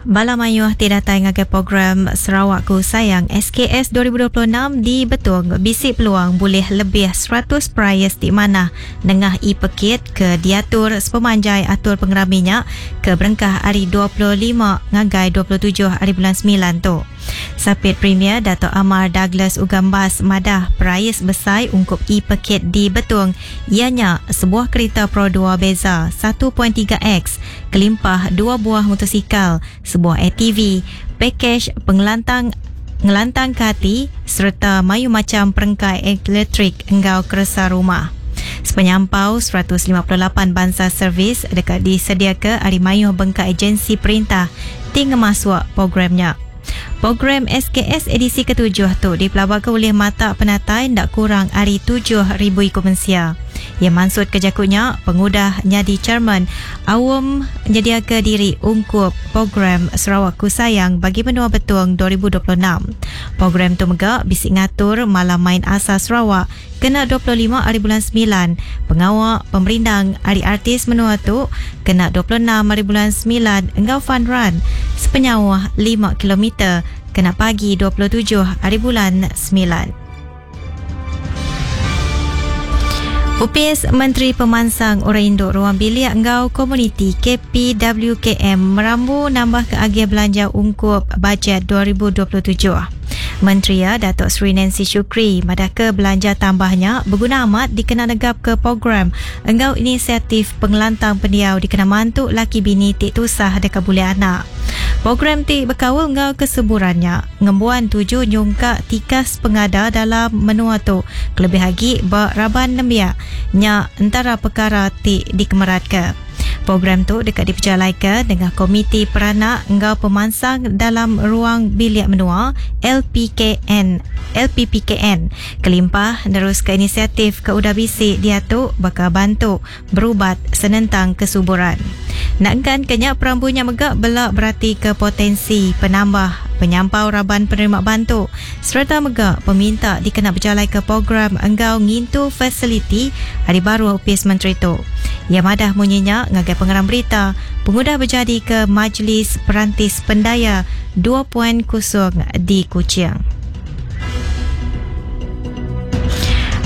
Bala mayuh ti datai ngagai program Sarawakku Sayang SKS 2026 di Betong bisi peluang bulih lebih 100 perais ti manah nengah e-pekit ke diatur sepemanjai atur pengerami nya ke berengkah ari 25 ngagai 27 hari bulan semilan tu. Sapit Premier Datuk Amar Douglas Ugambas madah perais besai ungkup e-pekit di Betong iya nya sebuah kerita Pro dua Bezza satu point tiga X kelimpah dua buah mutosikal, sebuah ATV, pakej pengelantang ngelantangka ati sereta mayuh macham perengka elektrik enggau keresa rumah. Sepenyampau 158 bansa servis deka disediaka ari mayuh bengkah ejensi perintah ti ngemasuk program nya. Program SKS edisi ketujuh tu dipelabaka ulih matak penatai enda kurang ari 7,000 iku mensia. Iya mansutka jaku nya pengudah nyadi chairman aum nyediaka diri ungkup Program Sarawakku Sayang Bagi Menua Betong 2026. Program tu mega bisi ngatur Malam Main Asal Sarawak kena 25 hari bulan semilan, pengawa pemerindang ari artis menua tu kena 26 hari bulan semilan enggau fun run sepenyauh lima kilometer kena pagi 27 hari bulan semilan. Opis Menteri Pemansang Orang Indu Ruang Bilik enggau Komuniti KPWKM merambu nambahka agih belanja ungkup bajet 2027. Menteri iya, Datuk Seri Nancy Shukri madahka belanja tambah nya beguna amat dikena negapka program enggau inisiatif pengelantang pendiau dikena mantu laki bini ti tusah deka bulih anak. Program ti bekaul enggau kesuburan nya ngembuan tuju nyungkak tikas pengada dalam menua tu kelebih agi ba raban nembiak nya entara pekara ti dikemeratka. Program tu deka dipejalaika nengah Komiti Peranak enggau Pemansang Dalam Ruang Bilik Menua, LPKN, LPPKN, kelimpah neruska inisiatif ke udah bisi diatu baka bantu berubat senentang kesuburan. Nangkan ke nya perambu nya mega bela beratika potensi penambah penyampau raban penerima bantu sereta mega peminta dikena bejalaika program enggau ngintu fasiliti ari baruh opis menteri tu. Iya madah munyi nya ngagai pengerang berita pengudah bejadika Majlis Perantis Pendaya dua point kosong di Kuching.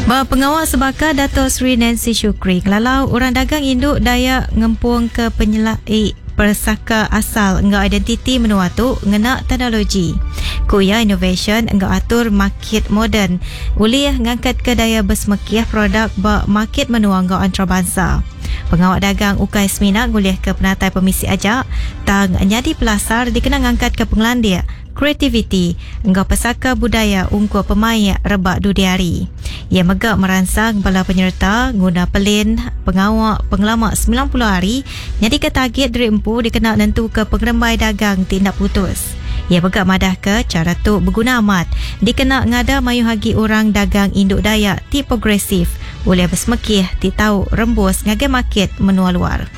Ba pengawa sebaka Dato Sri Nancy Shukri ngelalau orang dagang indu Dayak ngempungka penyelai pesaka asal enggau identiti menua tu ngena teknologi. Ku iya inovasyen enggau atur makit moden ulih ngangkatka daya besemekih produk ba makit menua enggau antarabangsa. Pengawa dagang ukai semina ngulihka penatai pemisi aja tang nyadi pelasar dikena ngangkatka pengelandik kreativiti enggau pesaka budaya ungkup pemaik rebak dudi hari. Iya mega meransang bala penyereta nguna pelin pengawa pengelama 90 hari nyadika tagit diri empu dikena nentuka pengerembai dagang ti enda putus. Iya mega madahka chara tu beguna amat dikena ngada mayuh agi orang dagang indu Dayak ti progresif ulih besemekih ti tau rembus ngagai makit menua luar.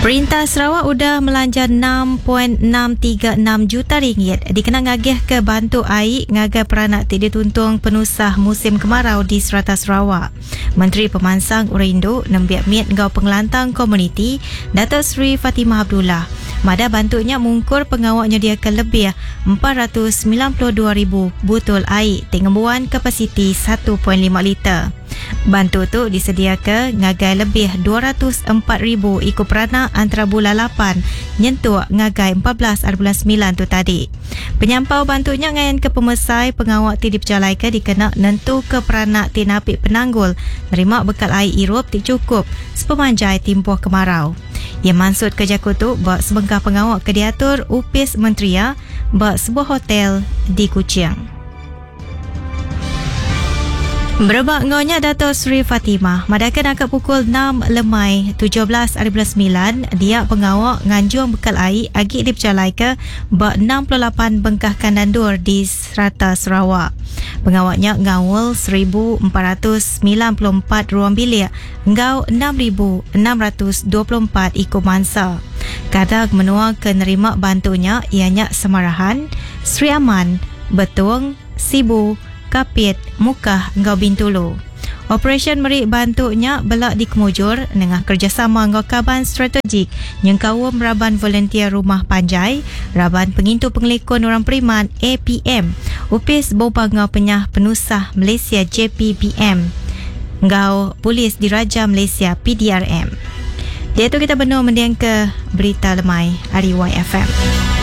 Perintah Sarawak udah melanja 6.636 juta ringgit dikena ngagihka bantu ai ngagai peranak ti dituntung penusah musim kemarau di serata Sarawak. Menteri Pemansang Orang Indu, Nembiak Mit enggau Pengelantang Komuniti, Datuk Seri Fatimah Abdullah madah bantu nya mungkur pengawa nyediaka lebih 492,000 butul ai ti ngembuan kapasiti 1.5 liter. Bantu tu disediaka ngagai lebih 204,000 iku peranak antara bulan lapan nyentuk ngagai 14 ari bulan semilan tu tadi. Penyampau bantu nya ngayanka pemesai pengawa ti dipejalaika dikena nentuka peranak ti napi penanggul nerima bekal ai irup ti chukup sepemanjai timpuh kemarau. Iya mansutka jaku tu ba sebengkah pengawa ke diatur Opis Menteri iya ba sebuah hotel di Kuching. Berebak enggau nya Dato Sri Fatimah madahka naka pukul enam lemai 17 ari bulan semilan dia pengawa nganjung bekal ai agi dipejalaika ba 68 bengkah kandang endur di serata Sarawak. Pengawa nya ngaul 1494 ruang bilik enggau 6624 iku mansa. Kadang menua ke nerima bantu nya iya nya Samarahan, Sri Aman, Betong, Sibu, Kapit, Mukah enggau Bintulu. Operasyen meri bantu nya bela dikemujur nengah kerejasama enggau kaban strategik nyengkaum raban volunteer rumah panjai, Raban Pengintu Pengelikun Orang Periman, APM, Opis Bomba enggau Penyah Penusah Malaysia, JPBM, enggau Polis Diraja Malaysia, PDRM. Diatu kita benung mendingka Berita Lemai ari YFM.